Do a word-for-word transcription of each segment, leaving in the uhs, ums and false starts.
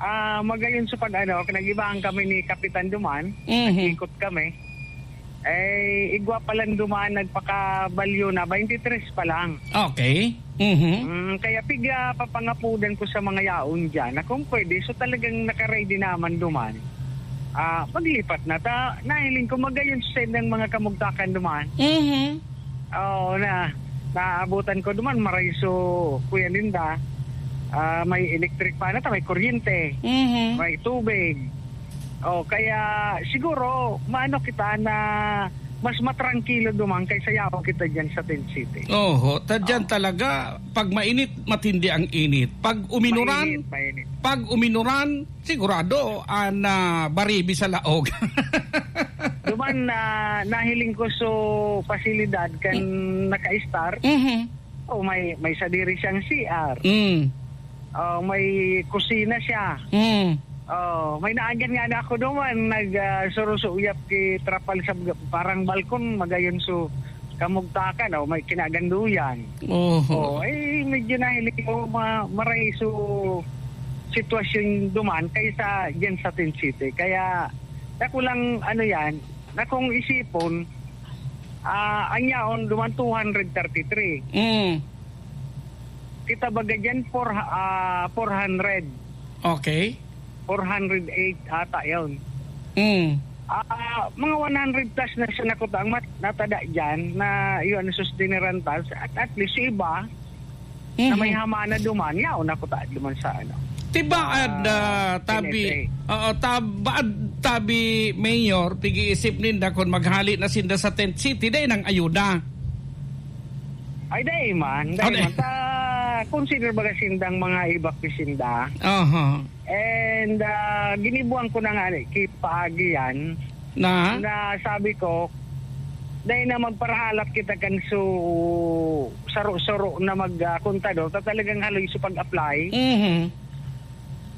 Ah, magayon sa pag-ano, nag-ibahan kami ni Kapitan duman, Mhm. nag-ikot kami. Eh, igwa pa lang duman, nagpakabalyo na, twenty-three pa lang. Okay. Mhm. Mm, kaya piga papangapudan ko sa mga yaon diyan na kung pwede, so talagang naka-ready naman duman. Ah, maglipat na ta, nahiling ko magayon sa ng mga kamugtakan duman. Mhm. Oo, na, naabutan ko duman, maray so, kuya ninda, ah, may electric pa na ta, may kuryente, Mhm. may tubig. Oh, kaya siguro, maano kita na mas matrangkilo duman kaysa yaon kita diyan sa Tent City. Oho, ta diyan Oo. talaga, pag mainit, matindi ang init. Pag uminuran, Mainit, mainit. pag uminuran, sigurado, ah, na baribi sa laog. Duman na nahiling ko so pasilidad kan Mm. naka-star. Mhm. Oh, may, may sadiri siyang C R. Mm. Oh, may kusina siya. Mm. Oh, may naagihan nga na ako duman, nag, ah, surusuyap ki trapal sa mga, parang balkon, magayon so kamugtakan, oh, may kinaganduyan. Oho. Oh, eh, medyo nahiling ko ma-, maray so sitwasyon duman kaysa diyan sa Tent City. Kaya, ako lang, ano yan, na kung isipon, ah, ang yaon duman two hundred thirty-three. Mm. Kita baga dyan, four, ah, four hundred. Okay. Four hundred eight ata yun. Mm. Ah, mga one hundred plus na siya nakuta ang mat-, natada dyan na yun ang sustineran tas. At, at least yung iba, na may Mhm. hama na duman, yaon ako ta duman sa ano, Tibaad, sa ah, tabi, N F A. Oo, tab-, baad tabi, Mayor, pig-iisip ninda kun maghali na sinda sa tent city, dai nang ayuda. Ay, dai man, dai Ano? man. Ta, consider baga sindang mga evacuee sinda. Aha. And, ah, ginibuan ko na nga, ki paagi yan. Na? Na sabi ko, dai na magparahalat kita kan su-, saro-saro na mag, ah, kontador, ta talagang haloy sa pag-apply. Mhm.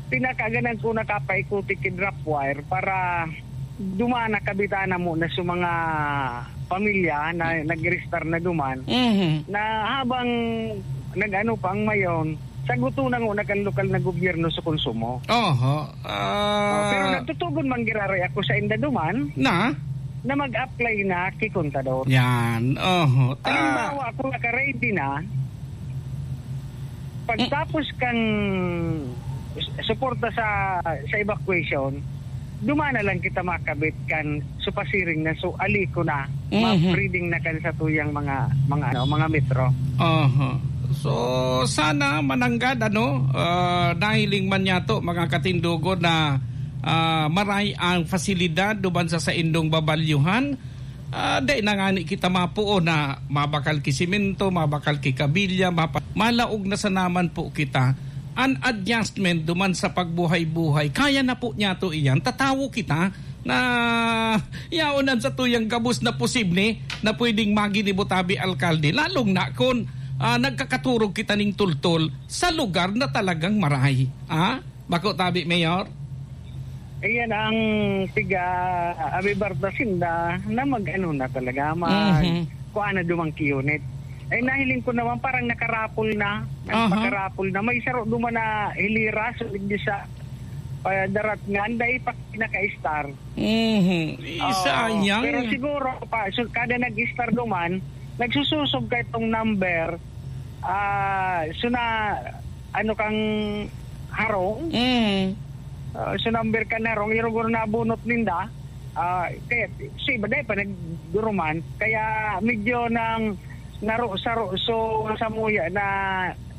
Pinakaganan ko nakapaikuti ki drop wire para dumana kabitana mo na sa mga pamilya na nag-register na duman, Mhm. na habang nag-ano pa ang mayon, saguto na ngona kan lokal na gobyerno sa konsumo. Oho. Ah. Oh, pero nagtutugon man giraray ako sa inda duman Na? na mag-apply na ki kontador. Yan. Oho. Ta- Halimbawa, kung naka-ready na, pagtapos kan s-, suporta sa, sa evacuation, dumana lang kita makabit kan supasiring na, so, ali ko na, Mhm. ma-reading na kan satuyang mga, mga, ano, mga metro. Aha. So, sana mananggad, ano, ah, nahiling man niyato, mga katindogon, na, ah, maray ang fasilidad duman sa saindong babalyuhan. Ah, dai na ngani kita mapuo na mabakal ki semento, mabakal ki kabilya, mapa-, malaog na sanaman po kita. An adjustment duman sa pagbuhay-buhay, kaya na po niyato iyan. Tatawo kita na yaon an satuyang gabos na posible na pwedeng maginibo tabi alkalde, lalong na kun, ah, nagkakaturog kita ning tultol sa lugar na talagang maray. Ah? Bako tabi, Mayor? Ayan ang piga-, abibarta sinda na mag-ano na talaga, mag-, Mhm. kuha na dumang ki unit. Eh, nahiling ko naman parang nakarapol na. Aha. Nagpakarapol na. May saro duman na hilira, so, digdi sa, ah, darat nga, anday pa naka-star. Mhm. Eh, Oo. sayang. Pero siguro, pa, so, kada nag-star duman, nagsususog ka itong number, ah, so na, ano kang harong? Mm. Ah, so number ka na harong, irugor na bunot ninda. Ah, kaya, si iba dahil pa nagduruman, kaya medyo nang naro-, saro-, so, samuya na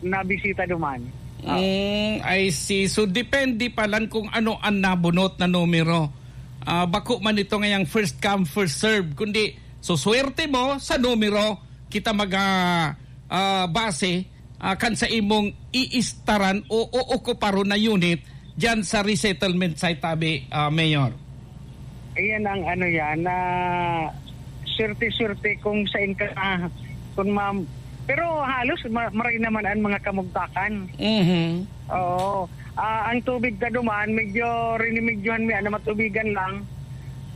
nabisita duman. Ah. Mm, I see. So, depende pa lang kung ano ang nabunot na numero. Ah, bako man ito ngayang first come, first serve, kundi so swerte mo sa numero, kita mag, ah, ah, base, ah, kan sa imong iistaran o, o okuparon na unit diyan sa resettlement site, tabi, ah, Mayor. Ayan ang ano yan, na swerte-swerte kung saan ka, ah, kung ma-, pero halos ma-, maray naman ang mga kamugtakan. Mhm. Oo. Ah, ang tubig ta duman, medyo rinimedyohan mi, ano, matubigan lang.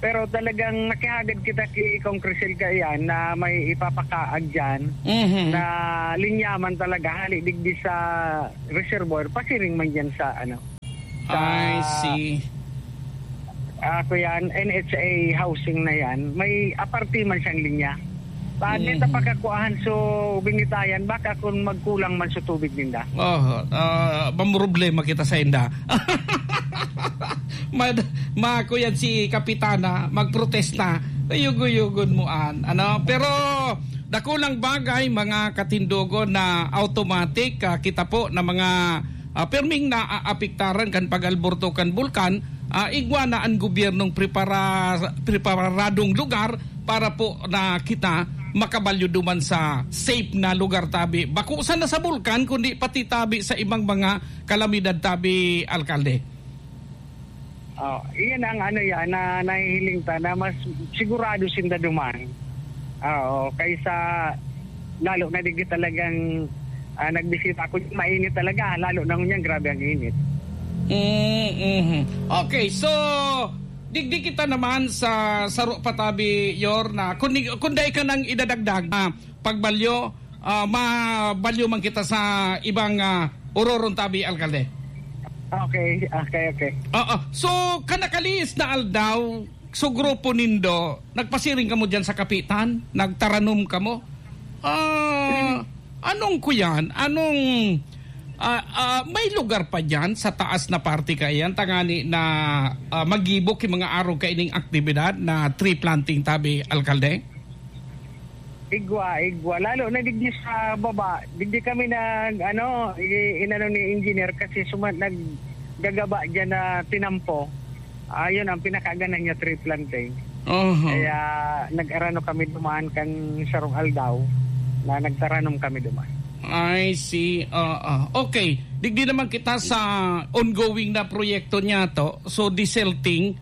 Pero talagang nakihagad kita ki Kong Crisel kaiyan na may ipapakaag diyan Mhm. na linyaman talaga, hali digdi sa reservoir, pasiring man diyan sa, ano, I see. Ah, kuya, N H A housing na yan, may aparte man siyang linya. Paano Mhm. ta pagkakuahan so binitayan, baka kung magkulang man so tubig ninda? Oh, ah, mamroblema kita sa inda. Mad-, ma-, kuyan si Kapitana, magprotesta. Yugo-yugon mo an, ano? Pero dakulang bagay, mga katindogon, na automatic, ah, kita po na mga, ah, pirming naaapektaran kan pag-alborto kan bulkan, ah, igwa na an gobyernong prepara-, preparadong lugar para po na kita makabalyo duman sa safe na lugar tabi. Bako sana sa bulkan, kundi pati tabi sa ibang mga kalamidad tabi, Alkalde. Oh, iyan ang ano yan, na nahihiling ta na mas sigurado sinda duman. Oo, kaysa lalo na digdi talagang, ah, nagbisita ako, mainit talaga, lalo na ngunyan, grabe ang init. Mm, mhm. Okay, so, digdi kita naman sa saro pa tabi, Yor, na kung, kung dai ka nang idadagdag, ah, pagbalyo, ah, mabalyo man kita sa ibang, ah, ororon tabi, Alkalde. Okay, okay, okay. Oo. So, kan nakalihis na aldaw, so grupo nindo, nagpasiring kamo diyan sa kapitan? Nagtaranom kamo? Ah, anong kuyan? Anong, ah, ah, may lugar pa diyan sa taas na parte kaiyan, tangani na, ah, magibo ki mga arog kaining aktibidad na tree planting tabi, Alkalde? Igwa, igwa. Lalo na digdi sa baba. Digdi kami nag, ano, i-, inano ni engineer kasi suma-, naggagaba diyan na tinampo. Ayun ang pinakagana niya, tree planting. Oho. Kaya nag-arano kami duman kan sarong aldaw na nagtaranom kami duman. I see. Oo. Okay. Digdi naman kita sa ongoing na proyekto niya to. So, desilting,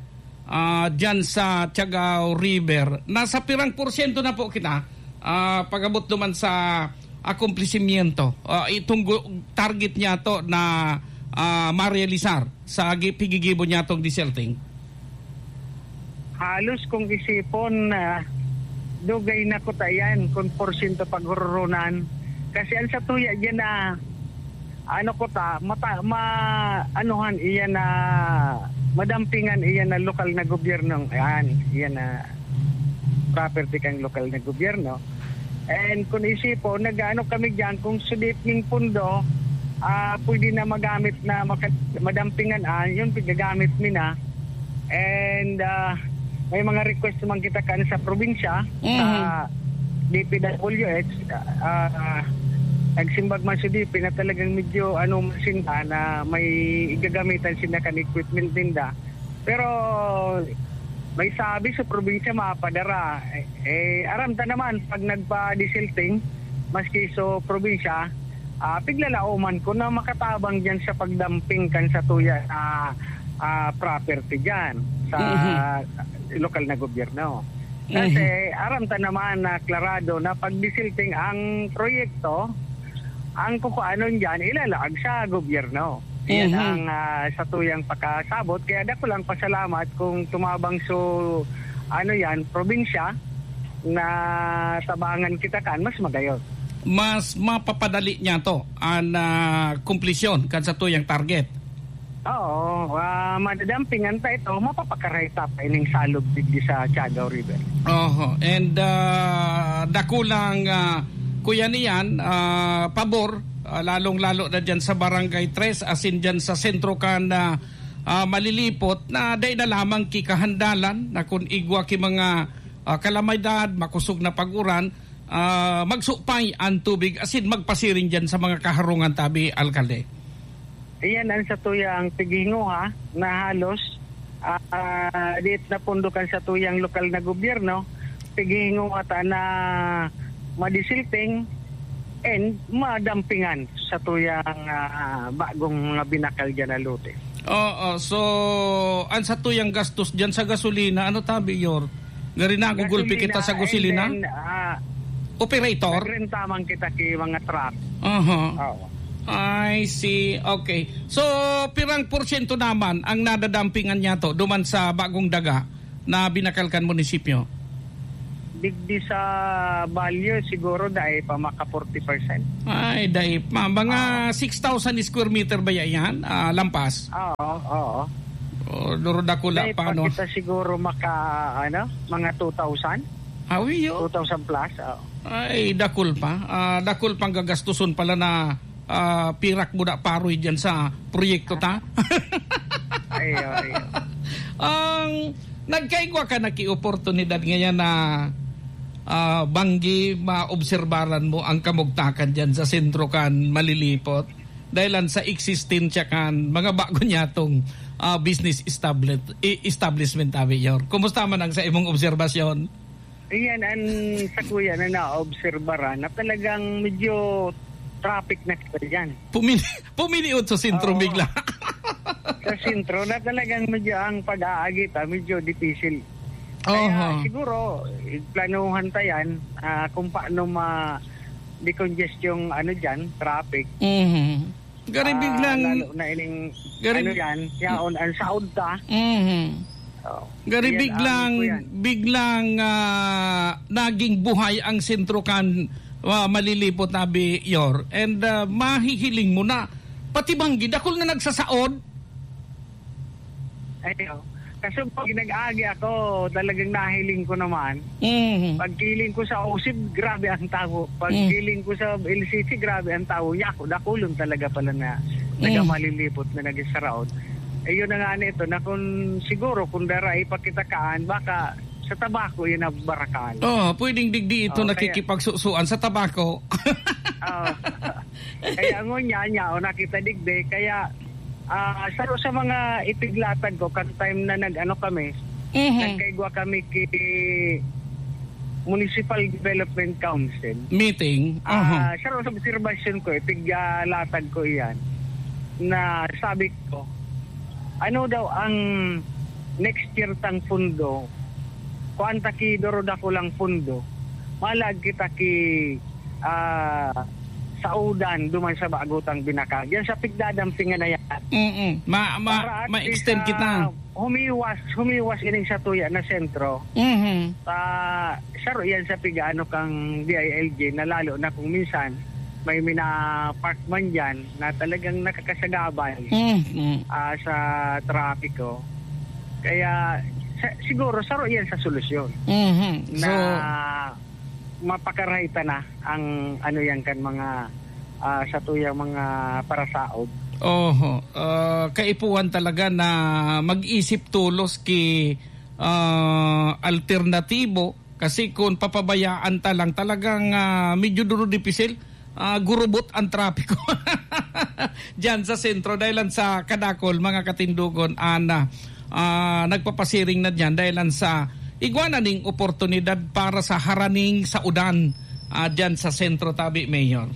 ah, dyan sa Tiagao River. Nasa pirang porsyento na po kita, ah, pag-abot duman sa akomplesimiento? Ah, itong gu-, target niya to na, ah, marealisar sa gi-, pigigibo niya tong desilting? Halos kung isipon, ah, dugay na kuta yan, kung porsyento paghururunan. Kasi ang satuya dyan na, ano kuta, mata-, ma-, anuhan, iyan na, madampingan iyan na lokal na gobyerno, yan, iyan na property kang lokal na gobyerno. And kung isipon, nag-aano kami diyan, kung sudiping pundo, ah, pwede na magamit na maka-, madampingan, ah, yun, gagamit mi na. And, ah, may mga request naman kita kan sa probinsya, Mhm. sa D P W H, ah, nagsimbag man si D P na talagang medyo ano man sinda, na may igagamitan sinda kan equipment ninda. Pero may sabi sa probinsya mapadara. Eh, eh, aram ta naman, pag nagpa-desilting, maski sa probinsya, ah, piglalaoman ko na makatabang diyan sa pagdamping kan satuya na, ah, property diyan sa Mhm. lokal na gobyerno. Kasi Mhm. aram ta naman na klarado na pag desilting ang proyekto, ang kukuanon diyan ilalaag sa gobyerno. Yan Mhm. ang, ah, satuyang pakasabot. Kaya dako lang pasalamat kung tumabang so, ano yan, probinsya na tabangan kita kan mas magayon. Mas mapapadali niya to an, ah, kumplisyon kan satuyang target. Oo, ah, madadampingan ta ito, mapapakaray ta pa ining salog digdi sa Tiagao River. Oho, and, ah, dakulang, ah, kuya niyan, ah, pabor, ah, lalong-lalo na diyan sa Barangay Tres, asin diyan sa sentro kan, ah, ah, Malilipot, na dai na lamang ki kahandalan na kun igwa ki mga, ah, kalamidad, makosog na pag-uran, ah, magsupay an tubig asin magpasiring diyan sa mga kaharungan tabi, Alkalde. Iyan ang satuyang pighinguha na halos, ah, diit na pondo kan satuyang lokal na gobyerno, pighinguha ta na madisilting and madampingan satuyang, ah, bagong mga binakal diyan na lote. Oo, so, ang satuyang gastos diyan sa gasolina, ano tabi, Yor? Gari nagugulpi kita sa gasolina, and then, ah, operator? Nagrenta man kita ki mga truck. Aha. Oo. I see. Okay. So, pirang porsyento naman ang nadadampingan niya to duman sa bagong daga na binakal kan munisipyo? Digdi sa Baguio, siguro dai pa maka forty percent. Ay, dai pa. Mga Oo. six thousand square meter ba yan? Ah, lampas? Oo, oo. Oh, duro dakula Dai pa, pa no? kita siguro maka, ano, mga two thousand? Hawi, oh. Two thousand plus, oo. Ay, dakul pa. Ah, dakul pang gagastuson pala na, ah, pirak mo na paroy dyan sa proyekto ta. Ayo, ayo. Ang nagkaigwa ka na ki oportunidad ngayon na, ah, banggi maobserbaran mo ang kamugtakan dyan sa sentro kan Malilipot. Dahil lang sa eksistensya kan mga bago niya tong, ah, business establi-, i-, establishment, Abi Yor. Kumusta man ang sa imong obserbasyon? Iyan ang sa kuya na naobserbaran na talagang medyo traffic na kita dyan. Pumili, pumili sa sentro Oo. bigla. Sa sentro na talagang medyo ang pag-aagita, medyo dipisil. Kaya Oho. siguro, planuhan ta yan, ah, kung paano ma-decongest yung ano dyan, traffic. Mhm. Gari Ah, biglang lalo na ining gari ano bi- yan, yaon, ang saod ta. Mhm. Oh, Gari ayan, biglang, ang ano po yan. biglang, ah, naging buhay ang sentro kan, ah, Malilipot, Abi Yor. And, ah, mahihiling mo na, pati banggi, dakul na nagsasaod. Ayo. Kaso pag nag-agi ako, talagang nahiling ko naman. Mhm. Pagkiling ko sa Osib, grabe ang tawo. Mm. Pagkiling ko sa L C C, grabe ang tawo. Yako, dakulon talaga pala na Mm. nagamalilipot na nagsaraot. Eh, yun na nga nito, na kung siguro, kung dara ipakitakaan, baka sa tabako yun ang barakal. Oo, pwedeng digdi ito Oo, kaya nakikipagsusuan sa tabako. Oo. Kaya ngunyan, yaon na kita digdi. Kaya, ah, sa, sa mga ipiglatag ko, kan time na nag-ano kami, Mhm. nagkaigwa kami ki Municipal Development Council. Meeting? Ah, Aha. sa, sa obserbasyon ko, ipiglatag ko iyan, na sabi ko, ano daw ang next year tang pundo? Kuan ta ki doro dakulang pundo. Malag kita ki, ah, saudan duman sa bago tang binakal. Yan sa pigdadampingan na yan. Mm-mm. Ma-, ma-, Para at ma-extend least, kita. ah, humiwas, humiwas ining sa tuya na sentro. Mhm. Ah, saro yan sa pigaano kang D I L G na lalo na kung minsan may mina-park man dyan na talagang nakakasagabal, Mm, mm. ah, sa trapiko. Kaya sa, siguro saro yan sa solusyon Mhm. na So, mapakarahay ta na ang ano yan kan mga, ah, sa tuyang mga parasaod. Oho. Ah, kaipuhan talaga na mag-isip tolos ki, ah, alternatibo kasi kung papabayaan ta lang talagang, ah, medyo duro dipisil, ah, gurubot ang trapiko diyan sa sentro dahil lang sa kadakol, mga katindogon, ana, ah, nagpapasiring na diyan dahil lang sa igwa na ning oportunidad para sa haraning saudan, ah, diyan sa sentro tabi, Mayor.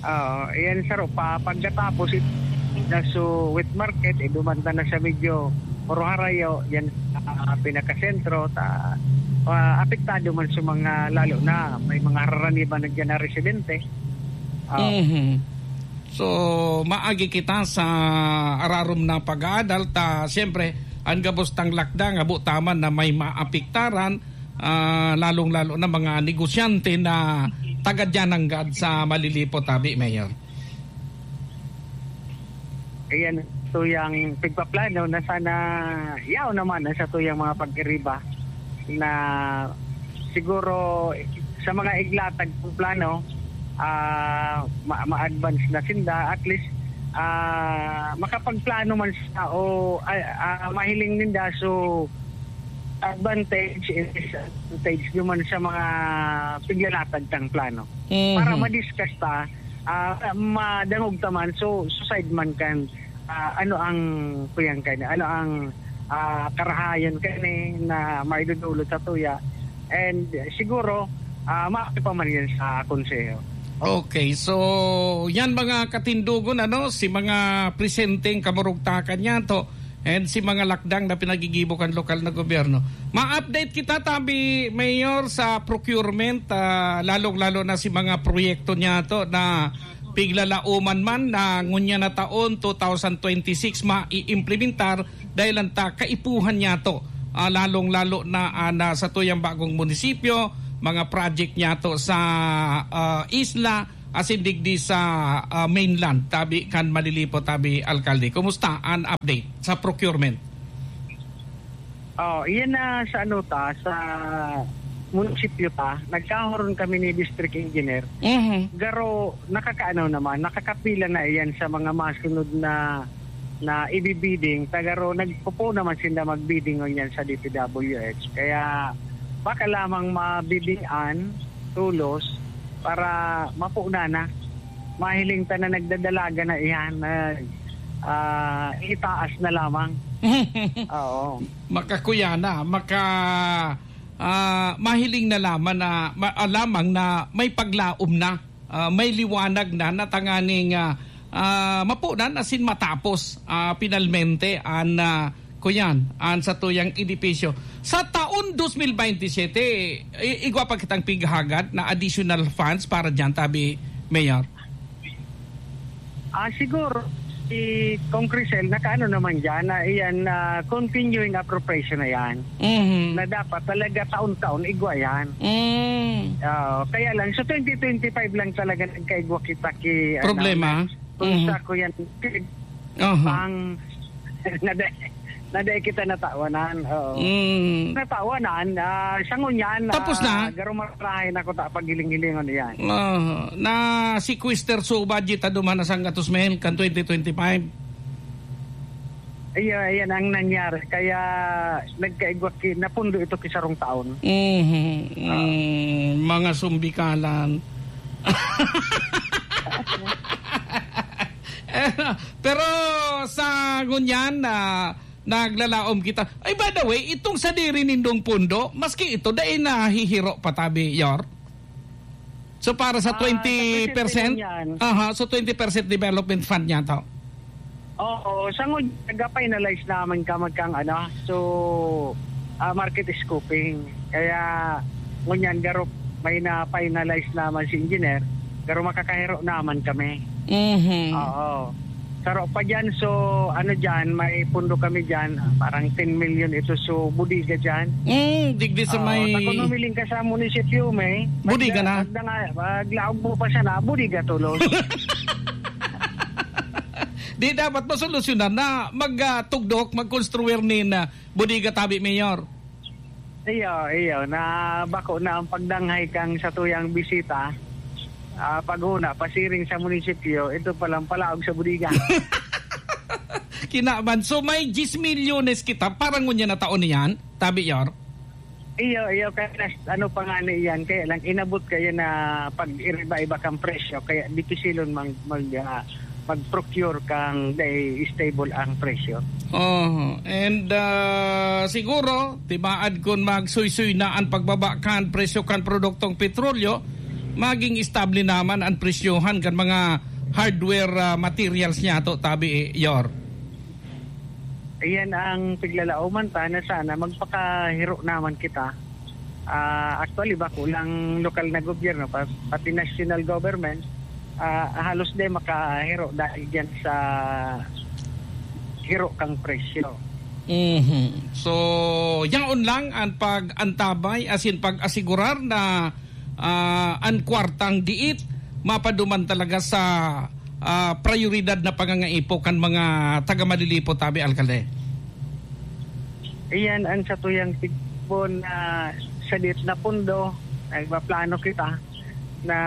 Oo, iyan, saro pa. Pagkatapos, it-, na so wet market, eh, dumanda na sa medyo Oro Harayo, yan, ah, pinakasentro, ta, ah, apektado man sa mga, lalo na, may mga haraniban na dyan na residente. Ah. Mhm. So, maagi kita sa ararom na pag-aadal, ta, siyempre, ang gabos tang lakdang, abo taman na may maapektaran, ah, lalong-lalo na mga negosyante na taga dyan nanggad sa Malilipot, tabi, Mayor. Ayan, tuyang pigpaplano na sana yaw naman ang sa tuyang mga pag-iriba na siguro sa mga iglatag kong plano, ah, ma-, ma-advance na sinda, at least, ah, makapagplano man sa o, ah, ah, mahiling ninda, so advantage and disadvantage naman sa mga piglalatag tang plano. Mhm. Para ma-discuss ta, ah, madangog ta man, so, so side man kan, ah, ano ang kuyang kani, ano ang, ah, karahayan kani na maidudulot sa tuya. And siguro, ah, maaari pa man yan sa konseho. Okay, so yan mga katindogon, ano, si mga presenteng kamurugtakan niya to, and si mga lakdang na pinagigibo kan lokal na gobyerno. Ma-update kita, tabi, Mayor, sa procurement, ah, lalong-lalo na si mga proyekto niya to na piglalauman man na ngunyan na taon, two thousand twenty-six, maiimplementar dahil ang ta-, kaipuhan niya to ah, lalong-lalo na, ah, na sa tuyang bagong munisipyo, mga project niyato sa, ah, isla, asin digdi sa, ah, mainland, tabi kan Malilipo, tabi, Alkalde. Kumusta an update sa procurement? Oh, iyan na sa ano ta, sa munisipyo ta, nagkahoron kami ni District Engineer. Mhm. Garo, nakakaano naman, nakakapila na iyan sa mga masunod na, na ibibidding. Tagaro, nagpupo naman sinda magbidding ngunyan sa D P W H. Kaya, baka lamang mabiddingan, tulos, para mapunan na. Mahiling ta na nagdadalaga na iyan, na, ah, itaas na lamang. Oo. Makakuya na, maka, ah, mahiling na lamang na, ma-, ah, lamang na may paglaom na, ah, may liwanag na, na tanganing, ah, ah, mapunan asin matapos, ah, pinalmente an, ah, kuyan, an satuyang edipisyo. Sa taon dos mil baynte siyete, i-, igwa pa kitang pighagad na additional funds para diyan, tabi, Mayor? Ah, siguro, si Kong Crisel, nakaano naman diyan, na iyan, ah, continuing appropriation na yan. Mhm. Na dapat talaga taon-taon igwa yan. Mm. Ah, kaya lang, sa twenty twenty-five lang talaga nagkaigwa kita ki, ano, Problema? Kung Mhm. sa kuyan, Aha. pang, na dai, na dai kita natawanan. Oo. Mm. Natawanan, ah, sa ngunyan, Tapos ah, na? garo marahay na ko ta paghiling-hilingon iyan. Ah, na-sequester so budget ta duman na sanggatos mil kan twenty twenty-five. Iya, iyan ang nangyari. Kaya nagkaigwa ki-, napundo ito ki sarong taon. Mhm. Ah. Mm, mga sumbikalan. Pero sa ngunyan na naglalaom kita. Ay, by the way, itong sadiri nindong pundo, maski ito, dai nahihiro pa tabi, Yor? So, para sa Ah, sa twenty percent? percent ngunyan. Aha, so twenty percent development fund niya to? Oo, sa ngunyan, nag-finalize naman kami kang ano, so, ah, market scoping. Kaya, ngunyan, garo, may na-finalize naman si engineer, garo makakahiro naman kami. Mhm. Oo. Saro pa dyan, so, ano dyan, may pundo kami dyan, ah, parang ten million ito, so, bodega dyan. Mm, digdi sa Oo, may ta kung humiling ka sa munisipyo, may Bodega pagda-, na? pagdanga-, paglaog mo pa siya na, bodega tulos. Di dapat masolusyonan na mag, ah, tugdok, magkonstruir nin, ah, bodega tabi, Mayor? Iyo, iyo, na bako na ang pagdanghay kang satuyang bisita. Ah, paghuna, pasiring sa munisipyo, ito palang palaog sa bodega. Kinaban. So, may diyes milyones kita para ngunyan na taon niyan, tabi, Yor? Iyo, iyo, kaya nas-, ano pa nga na iyan, kaya lang inabot kayo na pag-iriba-iba kang presyo, kaya dipisilon mang, mag, ah, mag-procure kang dai stable ang presyo. Oh, and, ah, siguro, tibaad kun magsuysoy na ang pagbaba kan presyo kan produktong petrolyo, maging estable naman ang presyohan kan mga hardware, ah, materials niyato, tabi, Yor. Iyan ang piglalaoman ta na sana magpakahiro naman kita. Ah, actually, bako lang lokal na gobyerno, pa-, pati national government, ah, halos di makahiro dahil diyan sa hiro kang presyo. Mhm. So, yaon lang ang pag-antabay, as in pag-asigurar na, ah, an kwartang diit mapaduman talaga sa, ah, prayoridad na pangangaipo kan mga taga Malilipo, tabi, Alkalde? Iyan ang satuyang tigbon na sa diit na pundo, nagpaplano kita na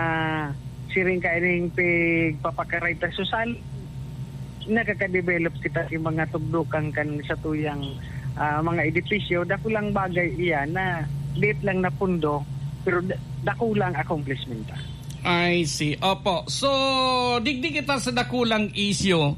siring kaining pigpapakaray ta sosal, nakaka-develop kita sa mga tugdokan kan satuyang, ah, mga edipisyo. Dakulang bagay iyan na diit lang na pundo, pero da-, dakulang accomplishment ta. I see. Opo. So, digdi kita sa dakulang isyu.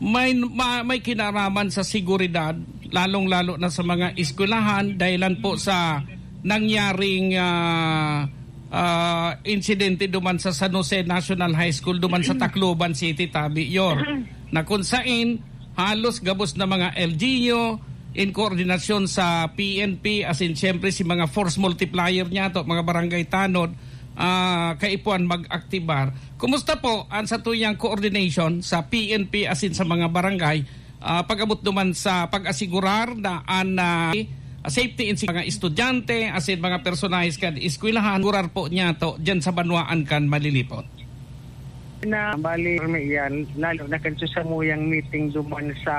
May, ma-, may kinaraman sa seguridad, lalong-lalo na sa mga eskwelahan, dahilan po sa nangyaring, ah, ah, insidente duman sa San Jose National High School, duman sa Tacloban City, tabi, Yor, na kung sain, halos gabos na mga L G U, in koordinasyon sa P N P, as in, siyempre, si mga force multiplier niyato, mga barangay tanod, ah, kaipuhan mag-aktibar. Kumusta po ang satuyang coordination sa P N P, as in, sa mga barangay, ah, pag-abot duman sa pag-asigurar na an, ah, safety in mga estudyante, asin mga personahes kan eskwelahan, asigurar po niya to dyan sa banwaan kan Malilipon. Na bali, may iyan, lalo na kan sa samuyang meeting duman sa